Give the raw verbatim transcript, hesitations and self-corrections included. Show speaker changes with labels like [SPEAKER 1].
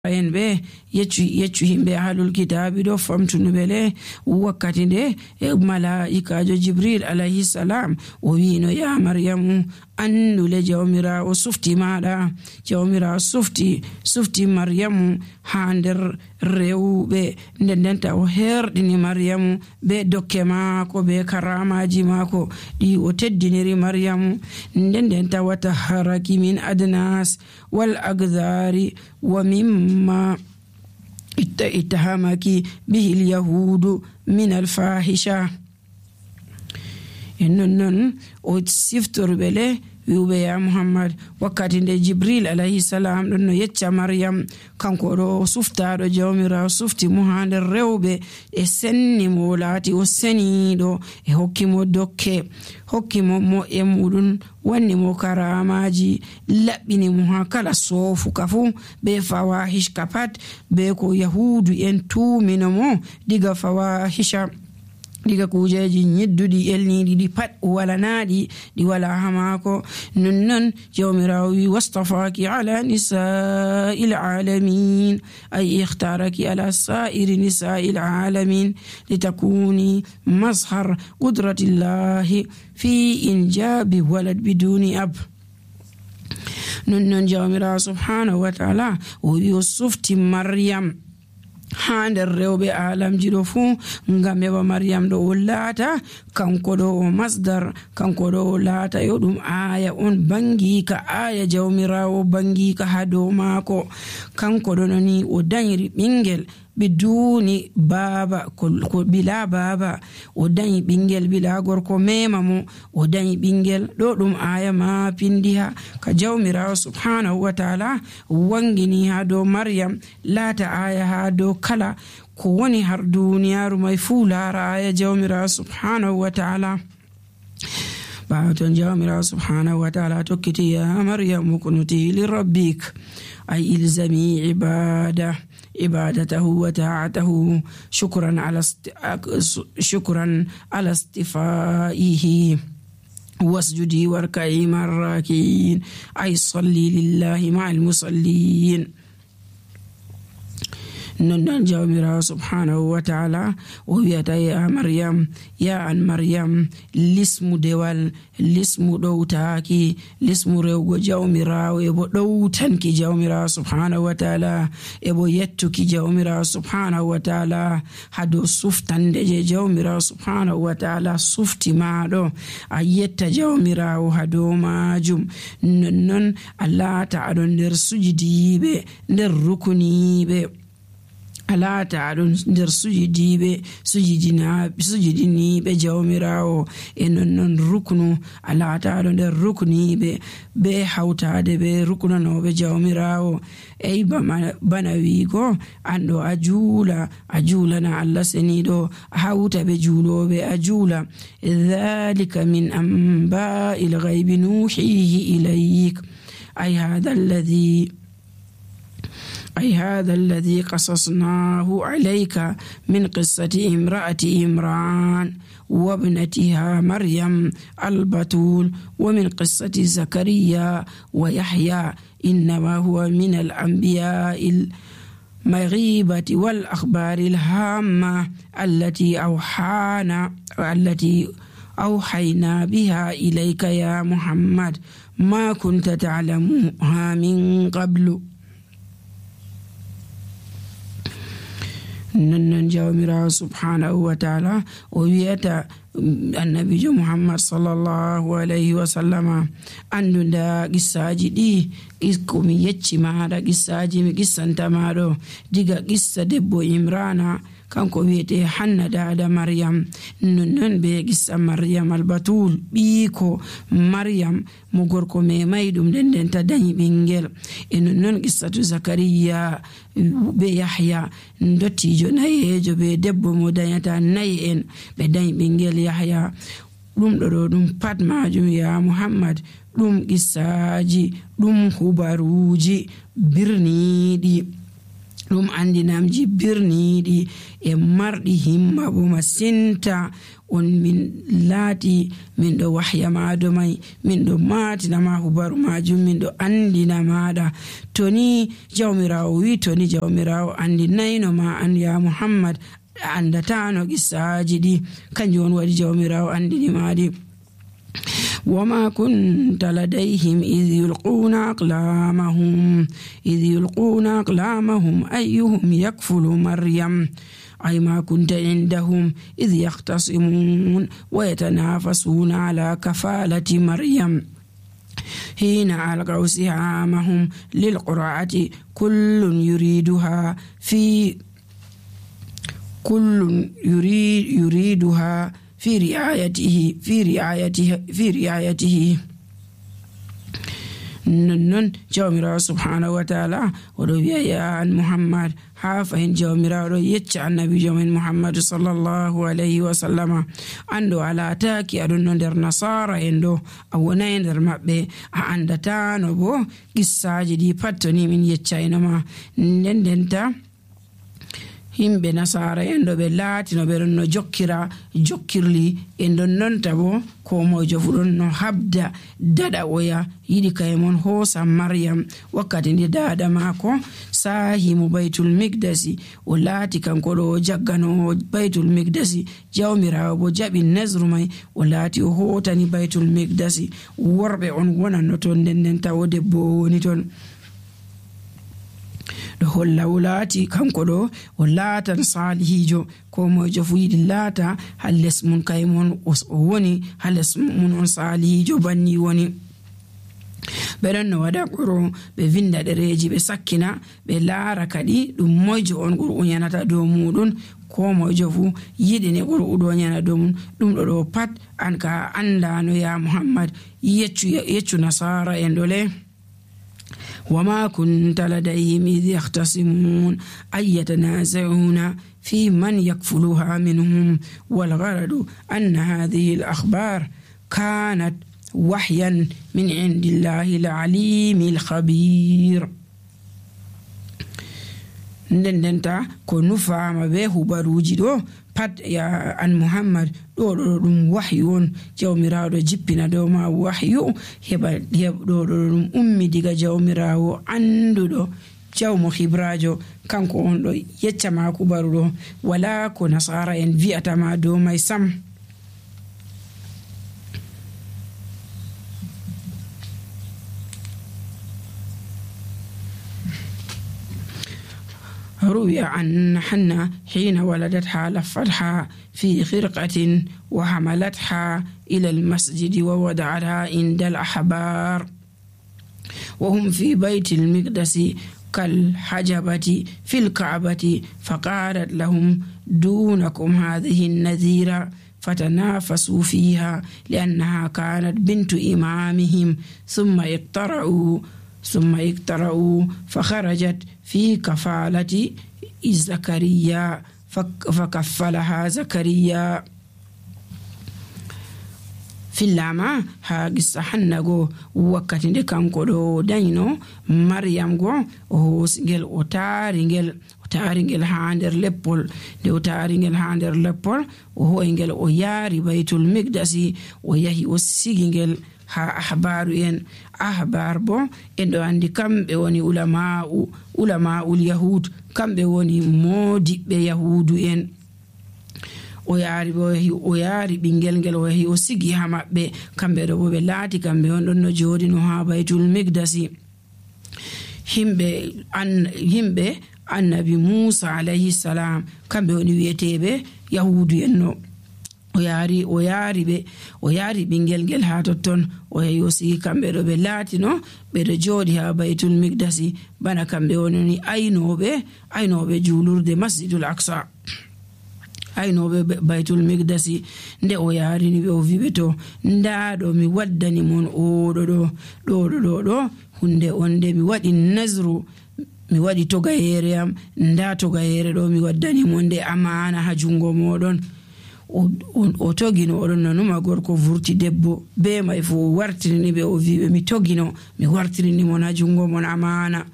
[SPEAKER 1] en ɓe yeccu yeccu himɓe ahlul kitabi ɗo famtunuɓe le wakkati nde e malaikajo jibril alayhi salam o wino ya maryamu andule jawmirawo sufti maɗa. Jawmirawo sufti sufti maryamu ha nder rewɓe, nden ndenta o herɗini maryamu be dokke maako be karamaji maako ɗi o teddiniri maryamu. nden ndenta watahharaki min adnas wal agdari wa mimma ittahamaki bihi al yahudu min al fahisha. en non non o siftorɓe le wi'uɓe ya muhammad wakkati nde jibril alayhi salam ɗon no yecca maryam kanko ɗo o suftaɗo jawmirawo sufti mo ha nder rewɓe e senni mo laati o seniɗo e hokkimo dokke hokkimo mo e muɗum wanni mo karamaji laɓɓini mo ha kala sofuka fu be fawahish pat be ko yahudu en tumino mo diga fawahisha diga kujeji nyidduɗi elniɗi ɗi pat walanaɗi ɗi wala ha maako. nonnon jawmirawo wi wastafaki ala nisa'il alamin ay ikhtaraki ala sa'iri nisa'il alamin litakuni mazhar qudratillahi fi injabi walad biduni ab. nonnon jawmirawo subhanahu wa ta'ala o wi o sufti maryam ha nder rewɓe alamji ɗo fuu ngam heɓa maryam ɗo o laata kanko ɗo o masdar, kanko ɗo o laata yo ɗum aya on bangika, aya jawmirawo bangika ha dow maako. kanko ɗo noni o dañiri ɓingel biduni baba ko bila baba, o dañi ɓingel bila gorko mema mo, o dañi ɓingel ɗo ɗum aya ma pindiha ka jawmirawo subhanahu wa ta'ala wangini ha dow maryam laata aya ha dow kala ko woni har duniyaru mai fuu lara aya jawmirawo subhanahu wa ta'ala. baton jawmirawo subhanahu wa ta'ala tokkiti ya maryam kunuti li rabbik ay ilzami ibada عبادته وطاعته شكرا على است... شكرا على استفائه واسجدي واركعي مع الراكعين أي صلي لله مع المصلين. نن جاومرا سبحانه وتعالى وياتا يا مريم يا أن مريم لسم دوال لسم دوتاكي لسم ريوغو جاومرا ويبو دوتانكي جاومرا سبحانه وتعالى يبو يتوكي جاومرا سبحانه وتعالى هادو سفتان دي جاومرا سبحانه وتعالى سفتي مادو أيتا جاومرا وهادو ماجم. نن الله تعالى ندر سجدي بي ندر ركني بي alata aɗon nder sujudiɓe sujidiniɓe jawmirawo e nonnon ruknu alata aɗo nder rukniɓe be hawtade be ruknanoɓe jawmirawo eyi bana wigo anɗo a juula a juulana allah seniɗo a hawta ɓe juuloɓe a juula. dhalika min amba'i lghaybi nuhihi ilayk ay hadha alladhi أي هذا الذي قصصناه عليك من قصة امرأة عمران وابنتها مريم البتول ومن قصة زكريا ويحيى إنما هو من الأنبياء المغيبة والأخبار الهامة التي أوحانا التي أوحينا بها إليك يا محمد ما كنت تعلمها من قبل. نن جاومرا سبحانه وتعالى وياتا النبي محمد صلى الله عليه وسلم أنو دا قصاجي دي إسكومي يتشي مادا قصاجي مي قصة مادو ديغا قصة دبو إمرانا kanko wiyete hanna dada maryam. nonnon be gissa maryam albatul ɓiiko maryam mo gorko me mayɗum nden nden ta dañi ɓingel. e nonnon gissatu zakariya be yahya dottijo nayejo be debbo mo dañata nayi en ɓe dañi ɓingel yahya. ɗum ɗo ɗo ɗum pat majum ya muhammad ɗum qissaji ɗum hubaruji birniɗi ɗum andinamji birniiɗi e marɗi himma bo masinta on min laati min ɗo wahya maɗo mai min ɗo matinama hubaru majum min ɗo andina maɗa. To ni jawmirawo wi to ni jawmirawo andinayno ma an ya Muhammad a andatano qissaji ɗi, kanjum on waɗi jawmirawo andini maɗi. وما كنت لديهم إذ يلقون أقلامهم إذ يلقون أقلامهم أيهم يكفل مريم أي ما كنت عندهم إذ يختصمون ويتنافسون على كفالة مريم حين ألقوا سهامهم للقرعة كل يريدها في كل يريد يريدها في رعايته في رعايته في رعايته نن جawmirawo subhanahu wa ta'ala oɗo wi'a ya an Muhammad ha fahin jawmirawo ɗo yecca annabijo men Muhammadu sallallahu alayhi wa sallama ando ala taki aɗon no nder nasara en ɗo a wonai nder maɓɓe a andatano bo qissaji ɗi pat to ni min yeccaynoma. nden ndenta himɓe nasara en ɗo ɓe laatino ɓe ɗon no jokkira jokkirli e ɗon nonta bo ko mojo fu ɗon no habda daɗa oya yiɗi kayemon hoosa Maryam wakkati nde dada maako sahimo baytul miqdasi o laati kanko ɗo o jaggano baytul miqdasi jawmirawo bo jaɓi nasru mai o laati o hotani baytul miqdasi worɓe on wonanno toon nden nden tawo debbo woni toon ɗo holla o laati kanko ɗo o laatan salihijo ko mojo fu yiɗi laata ha les mum kaymon o woni ha les mum on salihijo banni woni. ɓe ɗon no waɗa quro ɓe vinda ɗereji ɓe sakkina ɓe laara kadi ɗum moyjo on qur'u yanata dow muɗum ko mojo fu yiɗini qur'u ɗo yana dow mum ɗum ɗo ɗo pat an ka andano ya Muhammad yeccu yeccu nasara en ɗole. وما كنت لديهم إذ يختصمون أي يتنازعون في من يكفلها منهم والغرض أن هذه الأخبار كانت وحيا من عند الله العليم الخبير. ndendenta ko nufama be hubaruji ɗo pat ya an Muhammad ɗo ɗo ɗum wahyu on jawmirawo jippina dow ma wahyu heɓa ɗo ɗo ɗum ummi diga jawmirawo anduɗo jawmo hibrajo kanko on ɗo yeccama kubaru ɗo wala ko nasara en vi'atama dow mai sam. روي عن حنة حين ولدتها لفتها في خرقة وحملتها إلى المسجد ووضعتها عند الأحبار وهم في بيت المقدس كالحجبة في الكعبة فقالت لهم دونكم هذه النذيرة فتنافسوا فيها لأنها كانت بنت إمامهم ثم اقترعوا ثم اقترعوا فخرجت في كفالة زكريا فكفلها زكريا fillama ha gissa hannago wakkati nde kanko ɗo dañino Maryam go o hosingel o taringel o taringel ha nder leppol nde o taringel ha nder leppol o hoyngel o yaari baytul miqdasi o yahi o sigingel ha ahbaru en ahbar bo en ɗo andi kamɓe woni ulama'u ulama'ul yahud kamɓe woni modiɓɓe yahudu en o yaari bo o yaari ɓingel ngel o yahi o sigi ha maɓɓe kamɓe ɗo bo ɓe laati kamɓe on ɗon no jooɗino ha baytul miqdasi himɓe an yimɓe annabi Musa alayhi salam kamɓe woni wiyeteɓe yahudu en no o yaari o yaari ɓe o yaari ɓingel ngel ha totton o yahi o sigi kamɓe ɗo ɓe laatino ɓeɗo jooɗi ha baytul miqdasi bana kamɓe woni aynoɓe aynoɓe julurde masjidul aqsa aynoɓe baytul miqdasi nde o yarini ɓe o wiɓe to ndaɗo mi waddani mon oɗo ɗo ɗo ɗo ɗo ɗo hunde on nde mi waɗi nasru mi waɗi togayere am nda togayere ɗo mi waddani mon nde amana ha jungo moɗon o togino oɗon nanuma gorko vurti debbo be may fu o wartirini ɓe o wiɓe mi togino mi wartirini mon ha jungo mon amana